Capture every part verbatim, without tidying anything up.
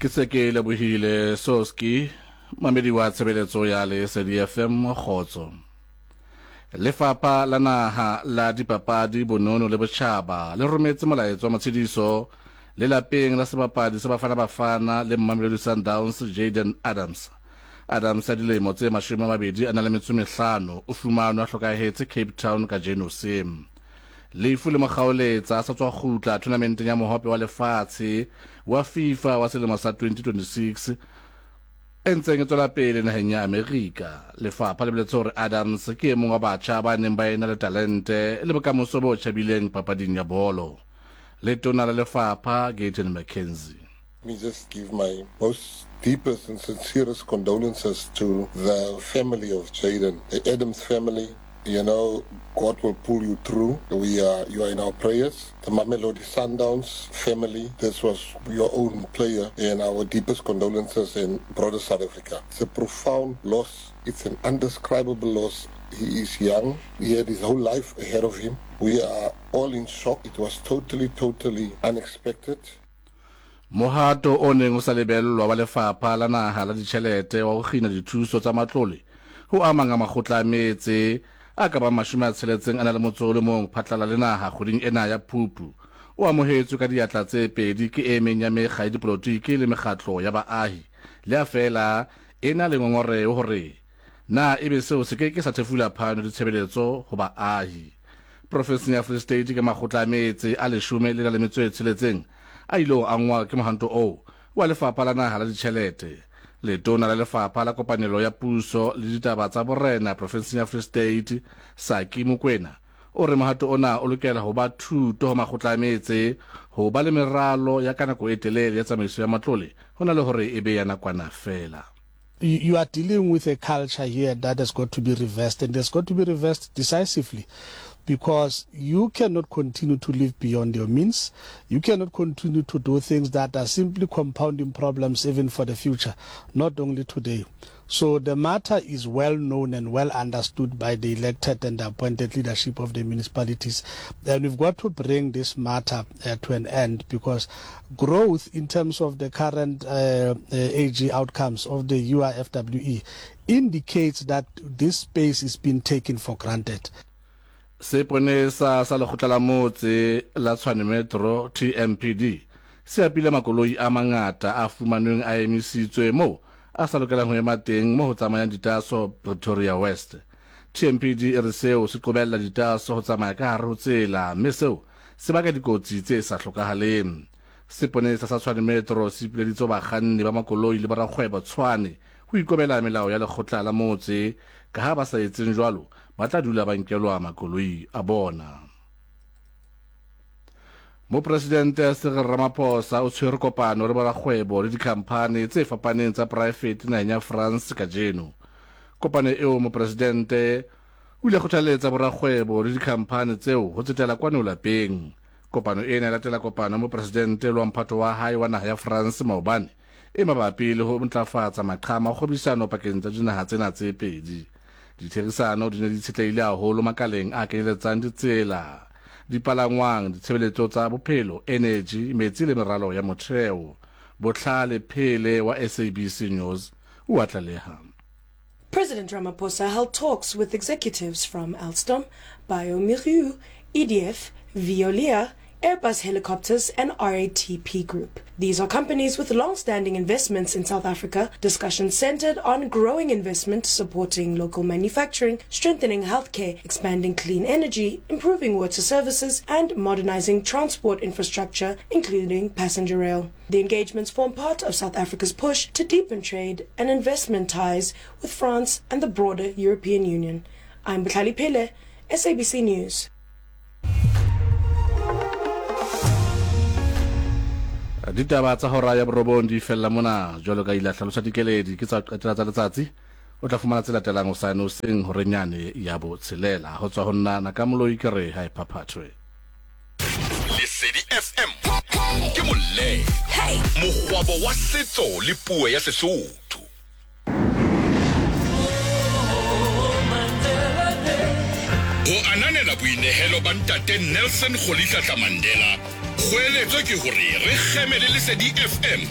Ke se ke lebohile Soski, mamedi wa tshebeletso ya Lesedi F M kgotso. Lefapha la naha la dipapadi, bonono le botjhaba le rometse molaetsa wa matshediso lelapeng la sebapadi sa Bafana Bafana le Mamelodi Sundowns Jaden Adams. Adams ya dilemo tse mashome a mabedi a na le metso mehlano o fumanwe a hlokahetse Cape Town kajeno se. Lefu le mokgaoletsa a sa tswa kgutla tournamenteng ya mohope wa lefatshe wa FIFA wa selemo sa twenty twenty-six e ntseng e tswela pele naheng ya Amerika. Lefapha le boletse hore Adams ke e mong wa batjha ba neng ba ena le talente le bokamoso bo tjhabileng papading ya bolo. Letona la lefapha Gayton McKenzie. Let me just give my most deepest and sincerest condolences to the family of Jaden, the Adams family. You know, God will pull you through. We are, you are in our prayers. The Mamelodi Sundowns family, this was your own player, and our deepest condolences in broader South Africa. It's a profound loss. It's an indescribable loss. He is young. He had his whole life ahead of him. We are all in shock. It was totally, totally unexpected. Mohato o neng o sa lebellwa wa lefapha la naha la ditjhelete wa ho kgina dithuso tsa matlole ho amang a makgotla a metse a ka bang mashome a tsheletseng a na le motso o le mong phatlala le naha kgweding ena ya Phupu o amohetswe ka diatla tse pedi ke e meng ya mekga ya dipolotiki le mekgatlo ya baahi le a fela e na le ngongoreho hore na ebe seo se ke ke sa thefula phano ditshebeletso ho baahi. Profenseng ya Free State ke makgotla a metse a leshome le na le metso e tsheletseng a ile angwa ke mohanto oo wa lefapha la naha la ditjhelete. Letona la lefapha la kopanelo ya puso le ditaba tsa borena profenseng ya Free State Saki Mokwena o re mohato ona o lokela ho ba thuto ho makgotla a metse ho ba le meralo ya ka nako e telele ya tsamaiso ya matlole ho na le hore e be ya nakwana fela. You are dealing with a culture here that has got to be reversed, and has got to be reversed decisively, because you cannot continue to live beyond your means. You cannot continue to do things that are simply compounding problems even for the future, not only today. So the matter is well known and well understood by the elected and appointed leadership of the municipalities. And we've got to bring this matter uh, to an end, because growth in terms of the current uh, uh, A G outcomes of the U I F W E indicates that this space is being taken for granted. Seponesa sa lekgotla la motse la Tshwane Metro T M P D se apile makoloi a mangata a fumanweng a emisitswe moo a sa lokelang ho ema teng mo ho tsamayang ditaso Pretoria West. T M P D e re seo se qobella ditaso ho tsamaya ka hare ho tsela, mme seo se baka dikotsi tse sa hlokahaleng. Seponesa sa Tshwane Metro se ipileditse bakganni ba makoloi le borakgwebo Tshwane ho ikobela melao ya lekgotla la motse, ka ha ba sa etseng jwalo ba tla dula ba nkelwa makoloi a bona. Mopresidente Cyril Ramaphosa o tshwere kopano le borakgwebo le dikhamphani tse fapaneng tsa poraefete naheng ya France kajeno. Kopano eo mopresidente o ile kgothaletsa borakgwebo le dikhamphani tseo ho tsetela kwano lapeng. Kopano ena e latela kopano mopresidente le wa mphato wa hae wa naha ya France maobane e mabapi le ho ntlafatsa maqhama a kgwebisano pakeng tsa dinaha tsena tse pedi. Ditherisano di ne di tshetlehile haholo makaleng a kenyeletsang ditsela, dipalangwang, ditshebeletso tsa bophelo, energy, metsi le meralo ya motheo. Botlhale Phele wa S A B C News o a tlaleha. President Ramaphosa held talks with executives from Alstom, bioMérieux, E D F, Veolia, Airbus Helicopters and R A T P Group. These are companies with long-standing investments in South Africa. Discussions centered on growing investment, supporting local manufacturing, strengthening healthcare, expanding clean energy, improving water services, and modernizing transport infrastructure, including passenger rail. The engagements form part of South Africa's push to deepen trade and investment ties with France and the broader European Union. I'm Butlali Pele, S A B C News. Ditaba tsa hora ya borobong di fella mona jwalo ka ile hlalosa dikeledi ke tsa qetela tsa letsatsi. O tla fumana tse latelang hosane hoseng horenyane ya botshelela. Ho tswa ho nna Nakamoloi ke re ha e phaphathwe. Lesedi F M ke molle mokgwabo wa setso le puo ya Sesotho. Ho ananela boinehelo ba ntate Nelson Rolihlahla Mandela Kgoeletso ke hore re kgeme le Lesedi F M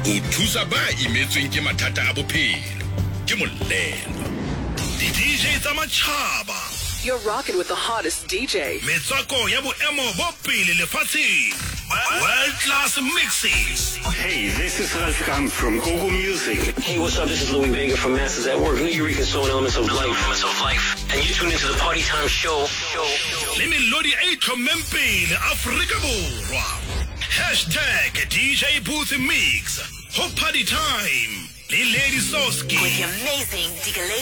ho thusa ba imetsweng ke mathata a bophelo. Ke molelo. Di-D J tsa matjhaba. You're rocking with the hottest D J. Metswako ya boemo bo pele lefatsheng. World class mixes. Hey, this is Ralph Kamp from Gogo Music. Hey, what's up? This is Louis Vega from Masters at Work, New Eureka Soul and Elements of Life. Elements of Life. And you tune into the Party Time Show. Show. Le melodi e itlhommeng pele Afrika Borwa. Hashtag D J Booth Mix. Ho Party Time. Le Lady Soski. With the amazing Digaledi.